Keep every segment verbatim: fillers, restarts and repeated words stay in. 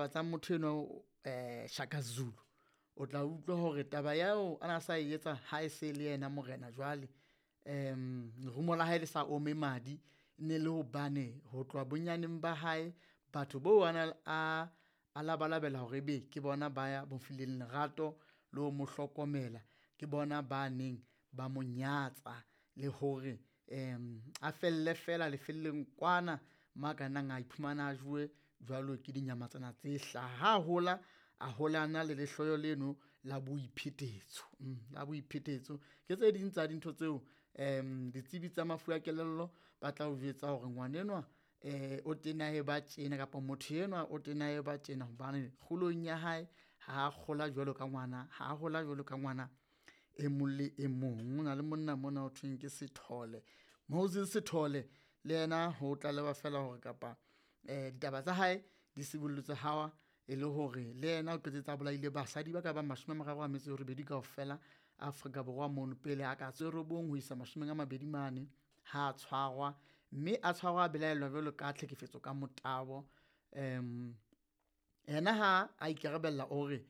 taba tsa motho eno eh Shaka Zulu, o tla utlwa hore taba yao ana sa e etsa ha e se le yena morena jwale, um lerumo la hae le sa ome madi, ne le hobane ho tloha bonyaneng ba hae batho bo ana a a labalabela hore ebe ke bona ba ya mo fileng lerato le ho mo hlokomela, ke bona ba neng ba mo nyatsa le hore um a felle fela lefelleng kwana mo a ka nnang a iphumana a jowe jwalo ke dinyamatsana tse hlaha. Ha a hola, a hola a na le lehloyo leno la boiphetetso, la boiphetetso. Ke tse ding tsa dintho tseo um ditsebi tsa mafu a kelello ba tla o jwetsa hore ngwanenwa um o tena e ba tjena kapa motho enwa o tena e ba tjena hobane kgolong ya hae ha kgola jwalo ka ngwana, ha hola jwalo ka ngwana e mong le e mong. Ho na le monna mona ho thweng ke Sethole, Moses Sethole le yena ho tlalewa feela hore kapa ditaba tsa hae di sibollotswe ha e le hore le yena o qetetse a bolaile basadi ba ka bang mashome a mararo a metso e robedi kaofela Afrika Borwa mono pele a ka tse robong ho isa mashome a mabedi mane ha tshwarwa, mme a tshwarwa a belaellwa jwalo ka tlhekefetso ka motabo. Um Yena ha a ikarabella o re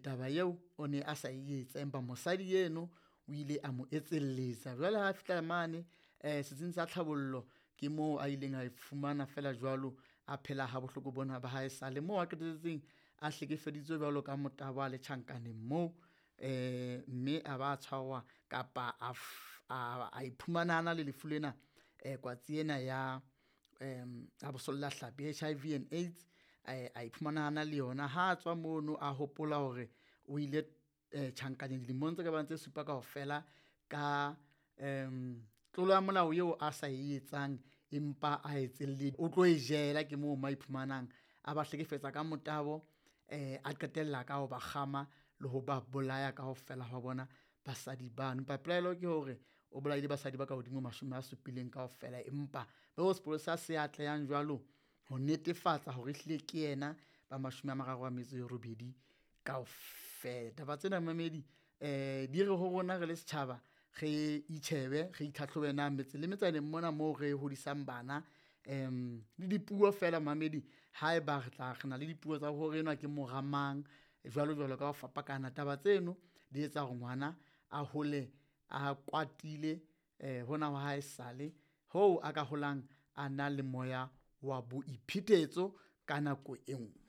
taba eo o ne a sa e etsa, empa mosadi eno o ile a mo etselletsa. Jwale ha fihla mane setsing sa tlhabollo ke moo a ileng a fumana feela jwalo, a phela ha bohloko bona ba haesale moo a qetelletseng a hlekefeditswe jwalo ka motabo a le tjhankaneng moo, mme a ba tshwarwa kapa a a iphumana a na le lefu lena kwatsi ena ya ya bosollahlapi H I V and AIDS, a iphumana a na le yona. Ha tswa mono, a hopola hore o ile tjhankaneng dilemong tse ka bang tse supa kaofela ka tlolo ya molao eo a sa e etsang empa a o tlo e jela. Ke moo mo a iphumanang a ba hlekefetsa ka motabo, a qetella ka ho ba kgama le ho ba bolaya kaofela ha bona basadi bano. Empa pelaelo ke hore o bolaile basadi ba ka hodimo ho mashome a supileng kaofela, empa bo sepolesa se atlehang jwalo ho netefatsa hore ehlile ke yena ba mashome a mararo a metso e robedi kaofela. Taba tsena momamedi di re ho rona re le setjhaba, re itjhebe, re itlhatlhobe na metse le metsaneng mona moo re hodisang bana um le dipuo feela momamedi haeba re tla re na le dipuo tsa hore enwa ke mora mang jwalo jwalo ka ho fapakana. Taba tseno di etsa hore ngwana a hole a kwatile hona wa haesale hoo a ka holang a na le moya wa boiphetetso ka nako e nngwe.